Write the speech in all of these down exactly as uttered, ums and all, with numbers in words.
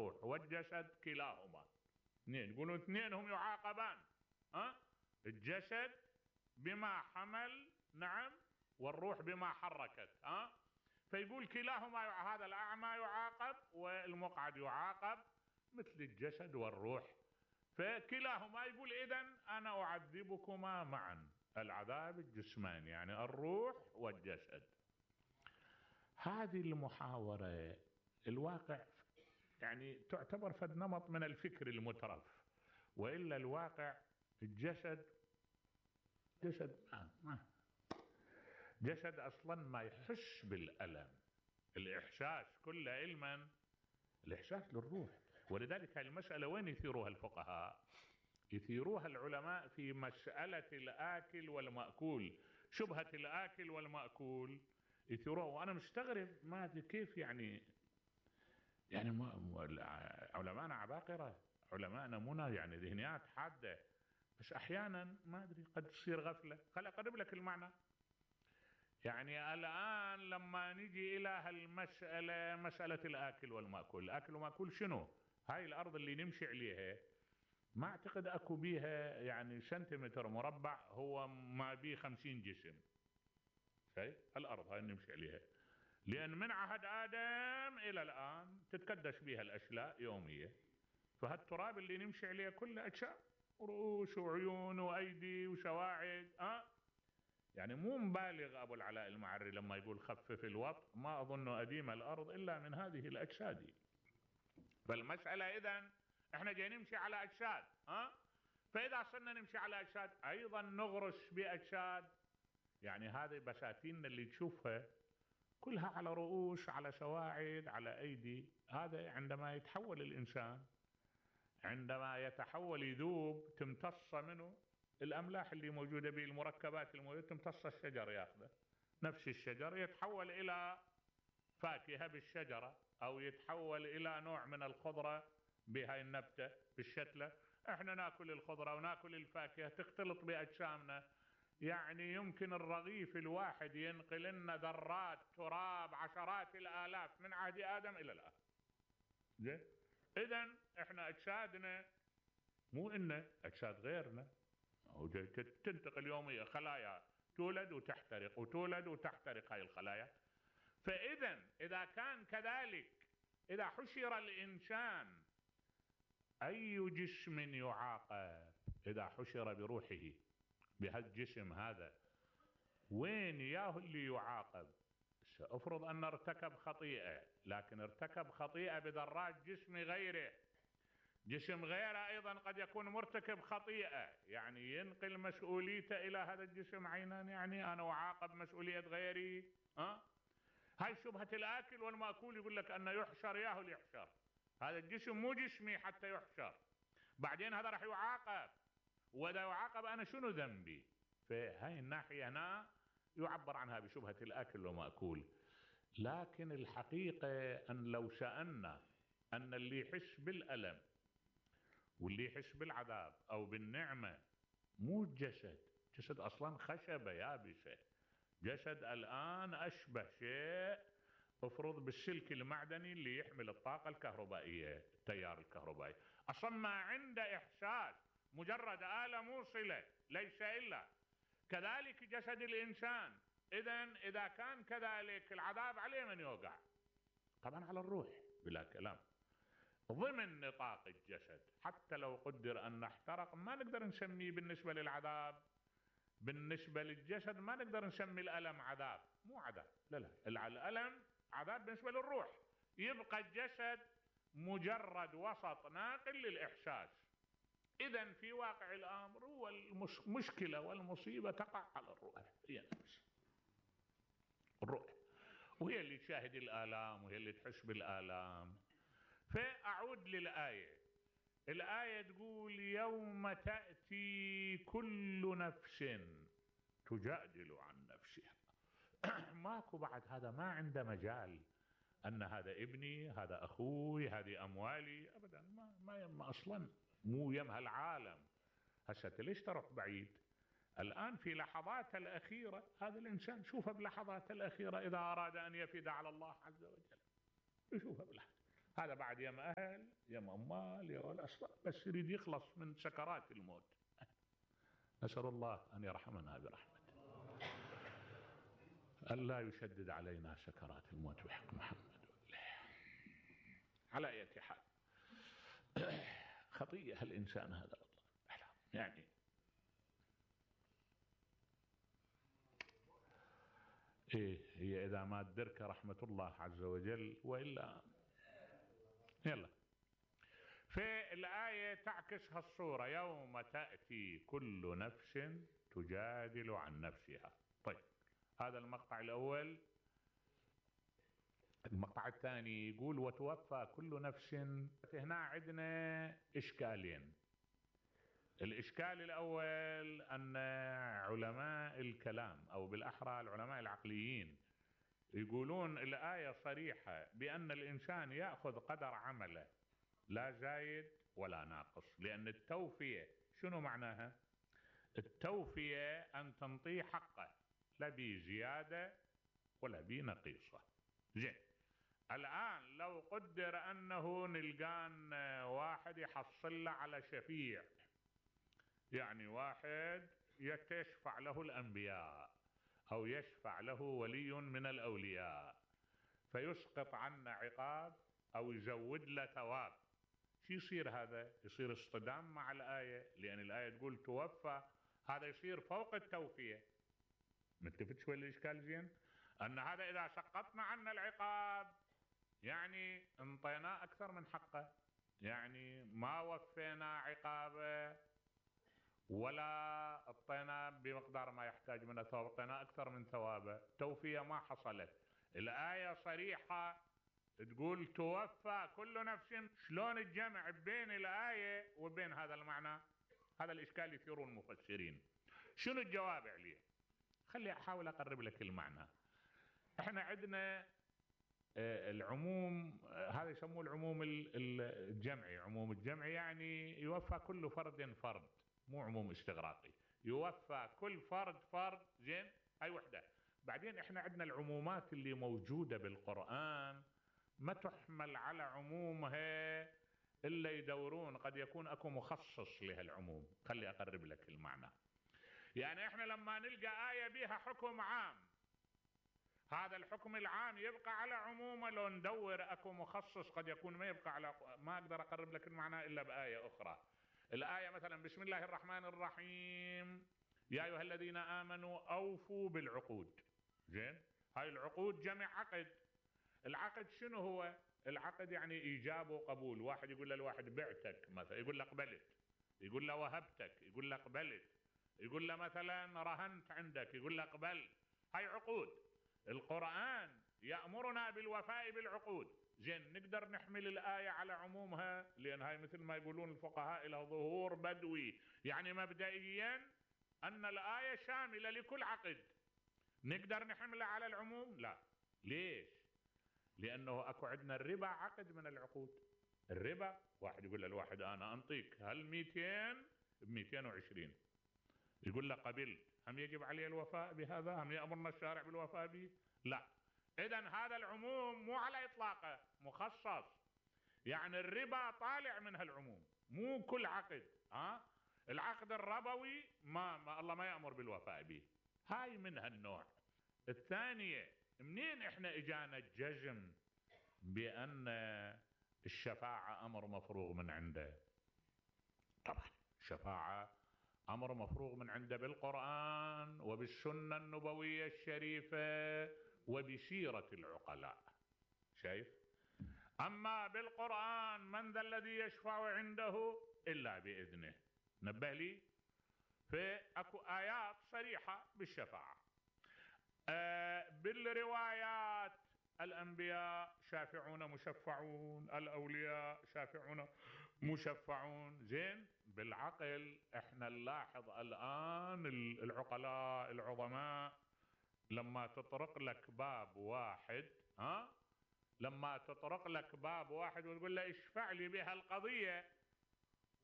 الروح والجسد كلاهما اثنين، يقولون اثنين هم يعاقبان، ها؟ الجسد بما حمل، نعم، والروح بما حركت، ها؟ فيقول كلاهما، هذا الأعمى يعاقب والمقعد يعاقب مثل الجسد والروح، فكلاهما يقول إذن أنا أعذبكما معا، العذاب الجسماني يعني الروح والجسد. هذه المحاورة الواقع يعني تعتبر فد نمط من الفكر المترف، وإلا الواقع الجسد جسد ما, ما جسد أصلا ما يحس بالألم، الإحساس كله علما الإحساس للروح. ولذلك المسألة وين يثيروها الفقهاء؟ يثيروها العلماء في مسألة الآكل والمأكول، شبهة الآكل والمأكول يثيروها. وأنا مستغرب ما أدري كيف يعني يعني علماءنا عباقرة، علماءنا منى يعني ذهنيات حادة، بس أحيانا ما أدري قد تصير غفلة. خل أقرب لك المعنى. يعني الآن لما نجي إلى هالمسألة، مسألة الآكل والمأكول، الآكل والمأكول شنو؟ هاي الأرض اللي نمشي عليها ما أعتقد أكو بيها يعني سنتيمتر مربع هو ما بيه خمسين جسم، شايف الأرض هاي نمشي عليها، لأن من عهد آدم إلى الآن تتكدس بها الأشلاء يومية، فهالتراب اللي نمشي عليه كله أجسام، رؤوس وعيون وأيدي وسواعد، أه؟ يعني مو مبالغ أبو العلاء المعري لما يقول خفف الوطء، ما أظن أديم الأرض إلا من هذه الأجساد. فالمسألة إذن إحنا جاي نمشي على أجساد، ها؟ فإذا صرنا نمشي على أجساد أيضا نغرس بأجساد، يعني هذه بساتين اللي تشوفها كلها على رؤوس، على سواعد، على أيدي. هذا عندما يتحول الإنسان، عندما يتحول يذوب تمتص منه الأملاح اللي موجودة به، المركبات الموجودة تمتص الشجر ياخذه، نفس الشجر يتحول إلى فاكهة بالشجرة، أو يتحول إلى نوع من الخضرة بهاي النبتة بالشتلة. احنا ناكل الخضرة وناكل الفاكهة تختلط بأجسامنا، يعني يمكن الرغيف الواحد ينقل لنا ذرات تراب عشرات الآلاف من عهد آدم إلى الآن. إذن احنا أجسادنا مو إن أجساد غيرنا تنتقل يوميا، خلايا تولد وتحترق وتولد وتحترق هاي الخلايا. فإذا إذا كان كذلك، إذا حشر الإنسان أي جسم يعاقب، إذا حشر بروحه بهالجسم هذا وين ياه اللي يعاقب؟ سأفرض أن ارتكب خطيئة، لكن ارتكب خطيئة بذرات جسم غيره، جسم غيره أيضا قد يكون مرتكب خطيئة، يعني ينقل مسؤوليته إلى هذا الجسم عينا، يعني أنا أعاقب مسؤولية غيري. ها؟ هاي شبهة الآكل والمأكول، يقول لك أن يحشر ياهو يحشر، هذا الجسم مو جسمي حتى يحشر، بعدين هذا راح يعاقب، وإذا يعاقب أنا شنو ذنبي؟ فهاي الناحية هنا يعبر عنها بشبهة الآكل والمأكول. لكن الحقيقة أن لو سألنا أن اللي يحس بالألم واللي يحس بالعذاب أو بالنعمة مو الجسد، جسد أصلا خشبة يابسة، جسد الآن أشبه شيء افرض بالسلك المعدني اللي يحمل الطاقة الكهربائية، التيار الكهربائي، أصلا ما عنده إحساس، مجرد آلة موصلة ليس إلا. كذلك جسد الإنسان. إذن إذا كان كذلك العذاب عليه من يوقع؟ طبعا على الروح بلا كلام، ضمن نطاق الجسد. حتى لو قدر أن نحترق ما نقدر نسميه بالنسبة للعذاب، بالنسبة للجسد ما نقدر نسمي الألم عذاب، مو عذاب، لا لا، الألم عذاب بالنسبة للروح، يبقى الجسد مجرد وسط ناقل للإحساس. إذن في واقع الأمر هو المشكلة والمصيبة تقع على الروح، هي نفسها الروح، وهي اللي تشاهد الآلام وهي اللي تحس بالآلام. فأعود للآية، الآية تقول يوم تأتي كل نفس تجادل عن نفسها. ماكو بعد هذا، ما عنده مجال أن هذا ابني، هذا أخوي، هذه أموالي، أبدا ما, ما يم أصلا، مو يمها العالم. هسه ليش تروح بعيد؟ الآن في لحظات الأخيرة هذا الإنسان شوفه بلحظات الأخيرة إذا أراد أن يفد على الله عز وجل يشوفه بلحظة، هذا بعد يم أهل يم أموال يا الأسباب، بس يريد يخلص من سكرات الموت. نسأل الله أن يرحمنا برحمته، ألا يشدد علينا سكرات الموت بحق محمد. على أي حال خطيئة الإنسان هذا يعني. إيه هي إذا ما تدرك رحمة الله عز وجل وإلا. يلا في الآية تعكس هالصورة، يوم تأتي كل نفس تجادل عن نفسها. طيب هذا المقطع الأول. المقطع الثاني يقول وتوفى كل نفس. هنا عندنا إشكالين. الإشكال الأول أن علماء الكلام أو بالأحرى العلماء العقليين يقولون الآية صريحة بأن الإنسان يأخذ قدر عمله لا زايد ولا ناقص، لأن التوفية شنو معناها؟ التوفية أن تنطيه حقه لا بزيادة ولا بنقيصة. زين، الآن لو قدر أنه نلقان واحد يحصل له على شفيع، يعني واحد يتشفع له الأنبياء أو يشفع له ولي من الأولياء فيسقط عنا عقاب أو يزود له ثواب، شو يصير هذا؟ يصير اصطدام مع الآية، لأن الآية تقول توفى، هذا يصير فوق التوفية. متفق شوي الإشكال زين؟ أن هذا إذا سقطنا عنا العقاب يعني انطيناه أكثر من حقه، يعني ما وفينا عقابه ولا اعطينا بمقدار ما يحتاج منه ثواب، اعطينا اكثر من ثوابه، توفيه ما حصلت. الايه صريحه تقول توفى كل نفس، شلون الجمع بين الايه وبين هذا المعنى؟ هذا الاشكال يثيره المفسرين. شنو الجواب عليه؟ خلي احاول اقرب لك المعنى. احنا عندنا العموم، هذا يسموه العموم الجمعي. عموم الجمعي يعني يوفى كل فرد فرد، مو عموم استغراقي، يوفى كل فرد فرد. زين، هاي وحده. بعدين احنا عندنا العمومات اللي موجودة بالقرآن ما تحمل على عمومها الا يدورون، قد يكون اكو مخصص لهالعموم. خلي اقرب لك المعنى. يعني احنا لما نلقى آية بها حكم عام، هذا الحكم العام يبقى على عمومه، لو ندور اكو مخصص قد يكون ما يبقى على. ما اقدر اقرب لك المعنى الا بآية اخرى. الآية مثلا بسم الله الرحمن الرحيم يا ايها الذين امنوا اوفوا بالعقود. زين، هاي العقود جمع عقد. العقد شنو هو؟ العقد يعني ايجاب وقبول. واحد يقول للواحد بعتك مثلا، يقول له قبلت. يقول له وهبتك، يقول له قبلت. يقول له مثلا رهنت عندك، يقول له قبلت. هاي عقود. القرآن يأمرنا بالوفاء بالعقود. زين، نقدر نحمل الآية على عمومها، لأن هاي مثل ما يقولون الفقهاء إلى ظهور بدوي، يعني مبدئيا أن الآية شاملة لكل عقد. نقدر نحملها على العموم؟ لا. ليش؟ لأنه أكو عندنا الربا عقد من العقود. الربا واحد يقول للواحد أنا أنطيك هل مئتين بمئتين وعشرين، يقول له قبلت، هم يجب عليه الوفاء بهذا؟ هم يأمرنا الشارع بالوفاء به؟ لا. إذن هذا العموم مو على إطلاقه، مخصص. يعني الربا طالع من هالعموم، مو كل عقد. ها؟ العقد الربوي ما, ما الله ما يأمر بالوفاء به، هاي من هالنوع. الثانية، منين احنا اجانا الجزم بأن الشفاعة أمر مفروغ من عنده؟ طبعا الشفاعة أمر مفروغ من عنده بالقرآن وبالسنة النبوية الشريفة وبسيرة العقلاء. شايف؟ أما بالقرآن من ذا الذي يشفع عنده إلا بإذنه. نبه لي، فأكو آيات صريحة بالشفاعة. آه بالروايات الأنبياء شافعون مشفعون، الأولياء شافعون مشفعون. زين، بالعقل احنا نلاحظ الآن العقلاء العظماء لما تطرق لك باب واحد، ها لما تطرق لك باب واحد وتقول له اشفع لي بها القضية،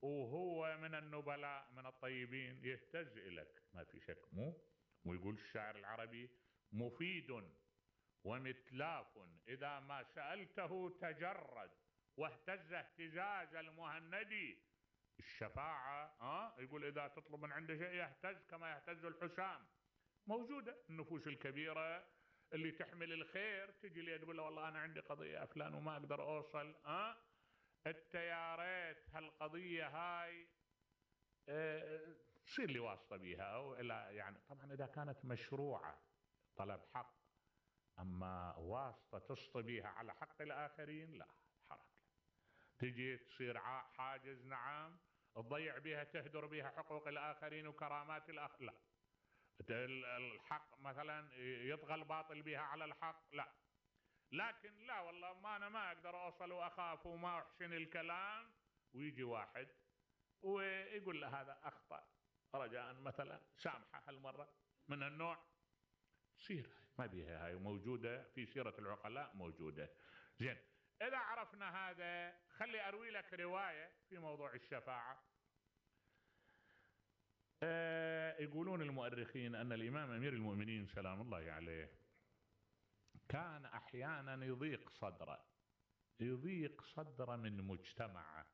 وهو من النبلاء من الطيبين، يهتز إليك ما في شك. مو ويقول الشاعر العربي مفيد ومتلاف إذا ما سألته تجرد واهتز اهتزاز المهندي. الشفاعة ها يقول إذا تطلب من عنده شيء يهتز كما يهتز الحسام. موجودة النفوس الكبيرة اللي تحمل الخير تجي لي تقول له والله أنا عندي قضية فلان وما أقدر أوصل، ها التيارات هالقضية هاي اه تصير لي واسطة بيها أو إلى، يعني طبعا إذا كانت مشروعة طلب حق، أما واسطة تصطي بيها على حق الآخرين لا، حرام. تجي تصير حاجز، نعم، تضيع بها تهدر بها حقوق الآخرين وكرامات الآخرين، لا. الحق مثلا يطغى الباطل بها على الحق، لا. لكن لا والله ما أنا ما أقدر أوصل وأخاف وما أحسن الكلام، ويجي واحد ويقول له هذا أخطأ رجاء مثلا سامحه هالمرة، من النوع سير ما بيها هاي، موجودة في سيرة العقلاء موجودة. زين، إذا عرفنا هذا خلي أروي لك رواية في موضوع الشفاعة. آه يقولون المؤرخين أن الإمام أمير المؤمنين سلام الله عليه كان أحيانا يضيق صدره، يضيق صدره من مجتمعه،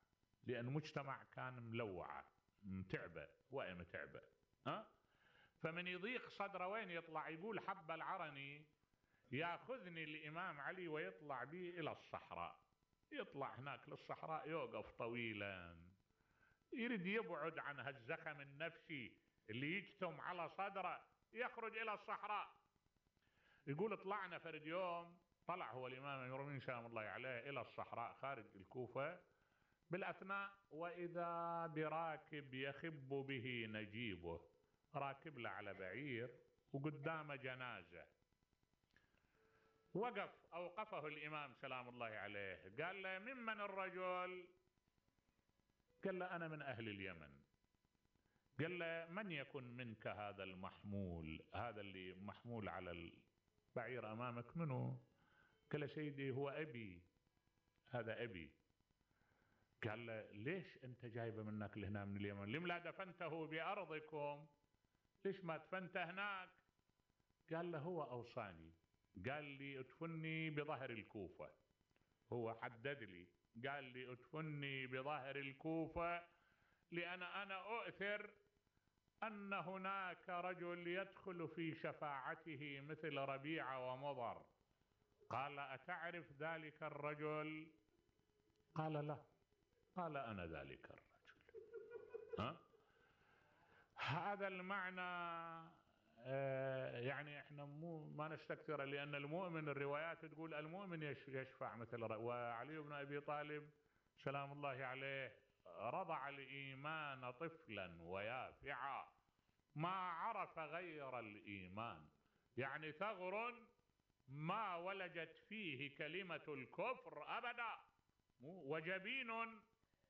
لأن مجتمع كان ملوعة متعبة وإيه متعبة، ها؟ فمن يضيق صدره وين يطلع؟ يقول حب العرني ياخذني الإمام علي ويطلع بي إلى الصحراء، يطلع هناك للصحراء يوقف طويلا، يريد يبعد عن هالزخم النفسي اللي يجتم على صدره، يخرج إلى الصحراء. يقول طلعنا فرد يوم، طلع هو الإمام أمير المؤمنين سلام الله عليه إلى الصحراء خارج الكوفة، بالأثناء وإذا براكب يخب به نجيبه، راكب له على بعير وقدامه جنازة. وقف أوقفه الإمام سلام الله عليه، قال له ممن الرجل؟ قال له أنا من أهل اليمن. قال له من يكن منك هذا المحمول، هذا اللي محمول على البعير أمامك منه؟ قال له سيدي هو أبي، هذا أبي. قال له ليش أنت جايبه منك لهنا من اليمن؟ لم لا دفنته بأرضكم؟ ليش ما دفنته هناك؟ قال له هو أوصاني، قال لي ادفني بظهر الكوفة، هو حدد لي قال لي ادفني بظهر الكوفة، لأن أنا أؤثر أن هناك رجل يدخل في شفاعته مثل ربيعة ومضر. قال أتعرف ذلك الرجل؟ قال لا. قال أنا ذلك الرجل. ها؟ هذا المعنى آه يعني احنا مو ما نستكثر، لأن المؤمن الروايات تقول المؤمن يشفع مثل، وعلي بن أبي طالب سلام الله عليه رضع الإيمان طفلا ويافعا ما عرف غير الإيمان، يعني ثغر ما ولجت فيه كلمة الكفر أبدا، وجبين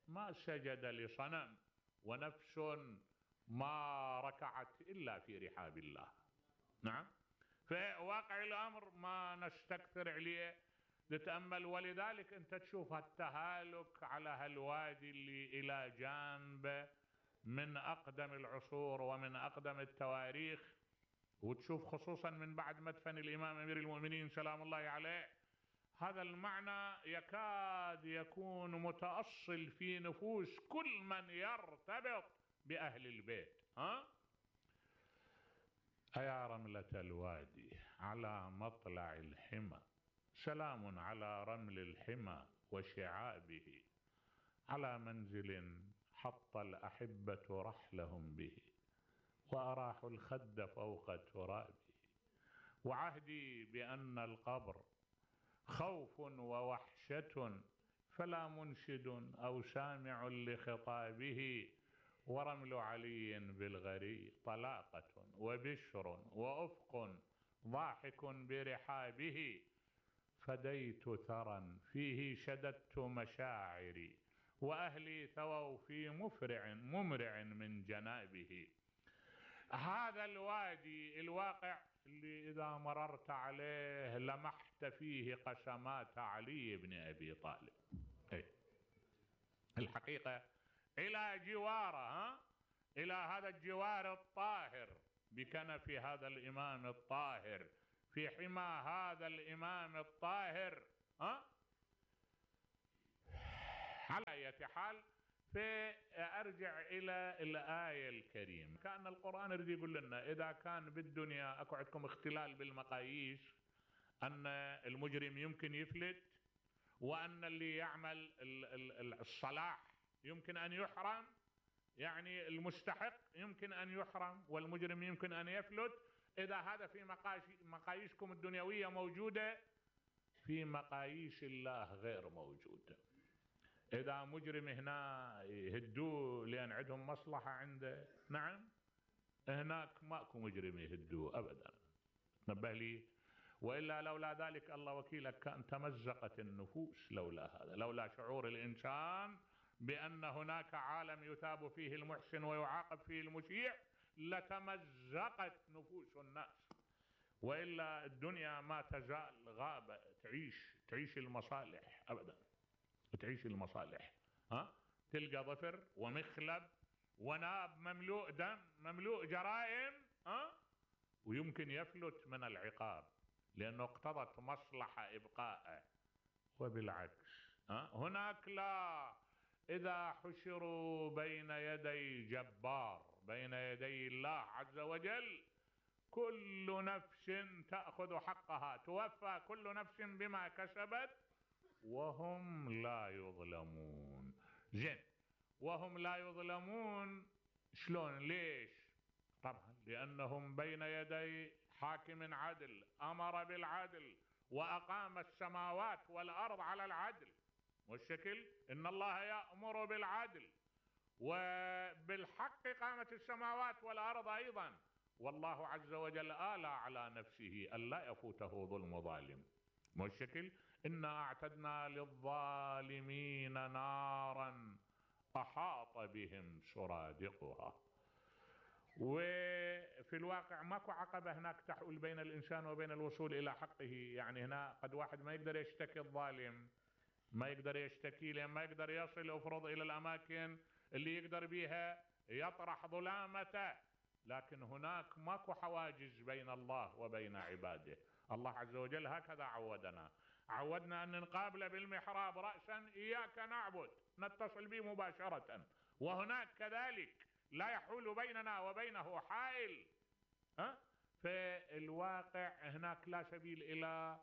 ما سجد لصنم، ونفس ما ركعت إلا في رحاب الله. نعم، فواقع الأمر ما نستكثر عليه نتأمل، ولذلك أنت تشوف التهالك على هالوادي اللي إلى جانب من أقدم العصور ومن أقدم التواريخ، وتشوف خصوصا من بعد مدفن الإمام أمير المؤمنين سلام الله عليه هذا المعنى يكاد يكون متأصل في نفوس كل من يرتبط بأهل البيت. ها؟ أيا رملة الوادي على مطلع الحمى، سلام على رمل الحمى وشعابه، على منزل حط الأحبة رحلهم به، وأراحوا الخد فوق ترابه، وعهدي بأن القبر خوف ووحشة، فلا منشد أو سامع لخطابه، ورمل علي بالغري طلاقة وبشر وأفق ضاحك برحابه، فديت ثرى فيه شددت مشاعري، وأهلي ثووا في مفرع ممرع من جنابه. هذا الوادي الواقع اللي إذا مررت عليه لمحت فيه قسمات علي بن أبي طالب. إيه؟ الحقيقة إلى جواره، ها؟ إلى هذا الجوار الطاهر بكنف هذا الإمام الطاهر، في حمى هذا الإمام الطاهر، ها؟ اية حال، فارجع الى الاية الكريمة. كأن القرآن يريد يقول لنا اذا كان بالدنيا اكو عندكم اختلال بالمقاييس، ان المجرم يمكن يفلت، وان اللي يعمل الصلاح يمكن ان يحرم، يعني المستحق يمكن ان يحرم والمجرم يمكن ان يفلت. اذا هذا في مقاييسكم الدنيوية موجودة، في مقاييس الله غير موجودة. اذا مجرم هنا يهدوه لان عندهم مصلحة عنده، نعم، هناك ماكو مجرم يهدوه ابدا، تنبه لي. والا لولا ذلك الله وكيلك كان تمزقت النفوس لولا هذا، لولا شعور الانسان بان هناك عالم يثاب فيه المحسن ويعاقب فيه المسيء لتمزقت نفوس الناس. والا الدنيا ما تزال غابة، تعيش تعيش المصالح ابدا، تعيش المصالح. ها تلقى ظفر ومخلب وناب مملوء دم مملوء جرائم، ها ويمكن يفلت من العقاب لانه اقتضت مصلحة ابقائه. وبالعكس ها هناك لا، اذا حشروا بين يدي جبار، بين يدي الله عز وجل، كل نفس تأخذ حقها، توفى كل نفس بما كسبت وهم لا يظلمون. زين، وهم لا يظلمون شلون؟ ليش؟ طبعا لأنهم بين يدي حاكم عدل أمر بالعدل وأقام السماوات والأرض على العدل والشكل. إن الله يأمر بالعدل وبالحق قامت السماوات والأرض أيضا. والله عز وجل آلى على نفسه ألا يفوته ظلم ظالم والشكل. إنا أعتدنا للظالمين نارا أحاط بهم سرادقها. وفي الواقع ماكو عقبة هناك تحول بين الإنسان وبين الوصول إلى حقه. يعني هنا قد واحد ما يقدر يشتكي الظالم، ما يقدر يشتكي لأن ما يقدر يصل أفرض إلى الأماكن اللي يقدر بيها يطرح ظلامته. لكن هناك ماكو حواجز بين الله وبين عباده. الله عز وجل هكذا عودنا، عودنا أن نقابل بالمحراب رأسا إياك نعبد، نتصل به مباشرة، وهناك كذلك لا يحول بيننا وبينه حائل. ها؟ فالواقع هناك لا سبيل إلى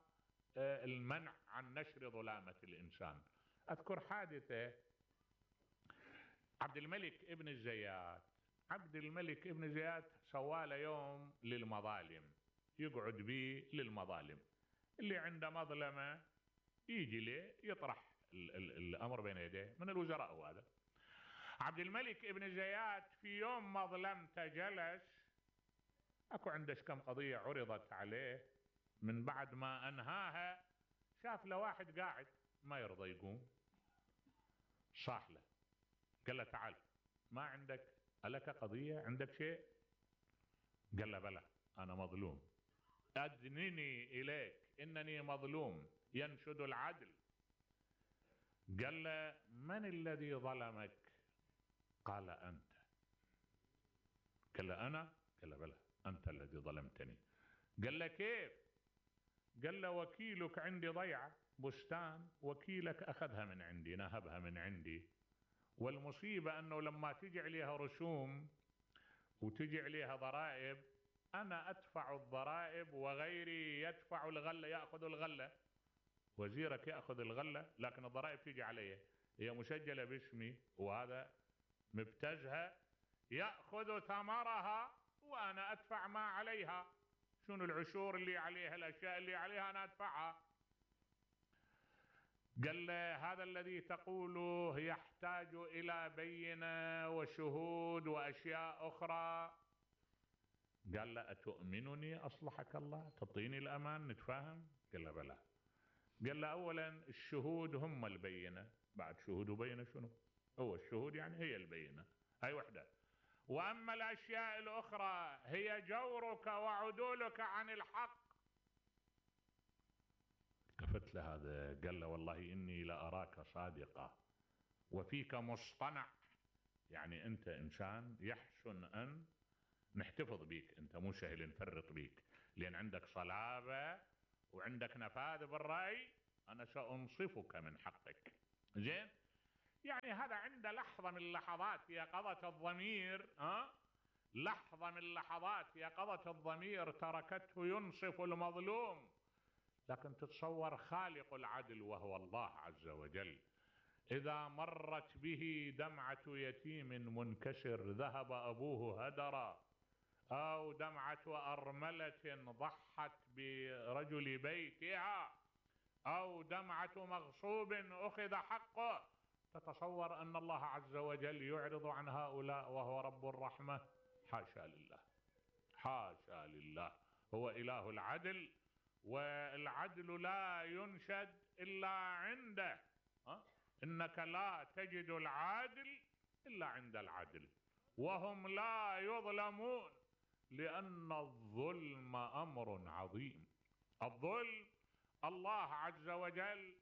المنع عن نشر ظلامة الإنسان. أذكر حادثة عبد الملك ابن الزيات. عبد الملك ابن زياد سواله يوم للمظالم، يقعد به للمظالم، اللي عنده مظلمة يجي له يطرح ال ال الأمر بين يديه من الوزراء. وهذا عبد الملك ابن زياد في يوم مظلمته جلس، اكو عندش كم قضية عرضت عليه، من بعد ما انهاها شاف له واحد قاعد ما يرضى يقوم، صاح له قال له تعال، ما عندك ألك قضية، عندك شيء؟ قال له بلى أنا مظلوم، أدنني إليك إنني مظلوم ينشد العدل. قال له من الذي ظلمك؟ قال أنت. قال له أنا؟ قال له بلى أنت الذي ظلمتني. قال له كيف؟ قال له وكيلك عندي ضيعة بستان، وكيلك أخذها من عندي نهبها من عندي، والمصيبة أنه لما تجي عليها رسوم وتجي عليها ضرائب أنا أدفع الضرائب وغيري يدفع الغلة، يأخذ الغلة، وزيرك يأخذ الغلة لكن الضرائب تيجي علي، هي مسجلة باسمي وهذا مبتزها يأخذ ثمرها وأنا أدفع ما عليها. شنو العشور اللي عليها، الأشياء اللي عليها أنا أدفعها. قال له هذا الذي تقوله يحتاج إلى بينة وشهود وأشياء أخرى. قال له أتؤمنني أصلحك الله، تعطيني الأمان نتفاهم؟ قال له بلى. قال له أولا الشهود هم البينة، بعد شهود وبينة شنو؟ هو الشهود يعني هي البينة، هاي وحدة. وأما الأشياء الأخرى هي جورك وعدولك عن الحق. التفت له هذا قال له والله إني لأراك صادقة وفيك مصطنع، يعني أنت إنسان يحسن أن نحتفظ بيك، أنت مو سهل نفرط بيك لأن عندك صلابة وعندك نفاذ بالرأي، أنا سأنصفك من حقك. زين، يعني هذا عند لحظة من لحظات يقظة الضمير، ها لحظة من لحظات يقظة الضمير تركته ينصف المظلوم. لكن تتصور خالق العدل وهو الله عز وجل إذا مرت به دمعة يتيم منكسر ذهب أبوه هدرا، أو دمعة أرملة ضحت برجل بيتها، أو دمعة مغصوب أخذ حقه، تتصور أن الله عز وجل يعرض عن هؤلاء وهو رب الرحمة؟ حاشا لله، حاشا لله. هو إله العدل، والعدل لا ينشد إلا عنده. أه؟ إنك لا تجد العادل إلا عند العدل، وهم لا يظلمون، لأن الظلم أمر عظيم. الظلم الله عز وجل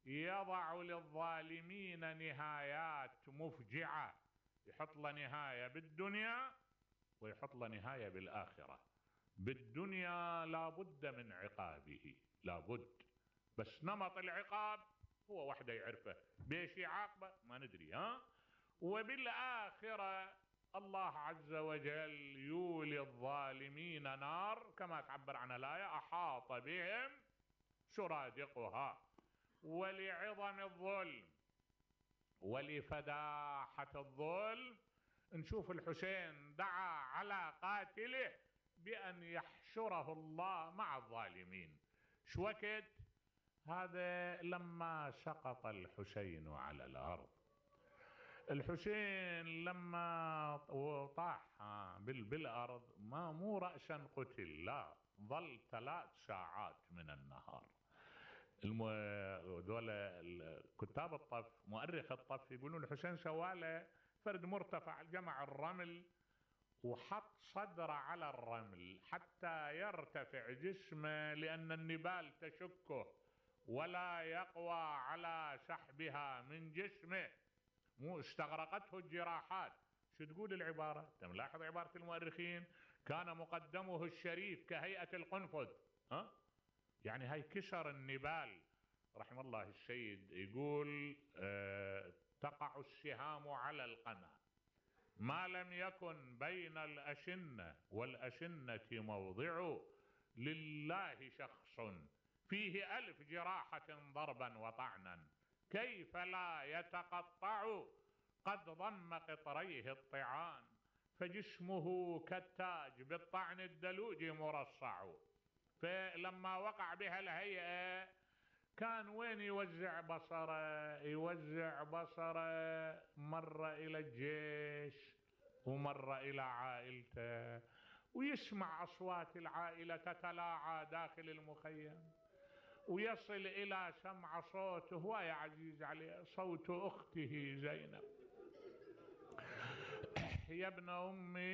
يضع للظالمين نهايات مفجعة، يحط له نهاية بالدنيا ويحط له نهاية بالآخرة. بالدنيا لا بد من عقابه، لا بد، بس نمط العقاب هو وحده يعرفه، بيش يعاقبه ما ندري. ها وبالآخرة الله عز وجل يولي الظالمين نار كما تعبر عنها الآية، أحاط بهم سرادقها. ولعظم الظلم ولفداحة الظلم نشوف الحسين دعا على قاتله بأن يحشره الله مع الظالمين. شو وقت هذا؟ لما سقط الحسين على الأرض. الحسين لما طاح بالأرض ما مو رأسا قتل، لا، ظل ثلاث ساعات من النهار. دول كتاب الطف مؤرخ الطف يقولون الحسين سواله فرد مرتفع، جمع الرمل وحط صدره على الرمل حتى يرتفع جسمه، لأن النبال تشكه ولا يقوى على سحبها من جسمه، مو استغرقته الجراحات. شو تقول العبارة؟ تلاحظ عبارة المؤرخين، كان مقدمه الشريف كهيئة القنفذ، ها؟ يعني هاي كسر النبال. رحم الله السيد يقول اه تقع السهام على القنا ما لم يكن بين الأشنة والأشنة موضع، لله شخص فيه ألف جراحة ضربا وطعنا، كيف لا يتقطع؟ قد ضم قطريه الطعان، فجسمه كالتاج بالطعن الدلوج مرصع. فلما وقع بها الهيئة كان وين يوزع بصره؟ يوزع بصره مرة إلى الجيش ومرة إلى عائلته، ويسمع أصوات العائلة تتلاعى داخل المخيم، ويصل إلى سمع صوته، هو يا عزيز عليه صوت أخته زينب: يا ابن أمي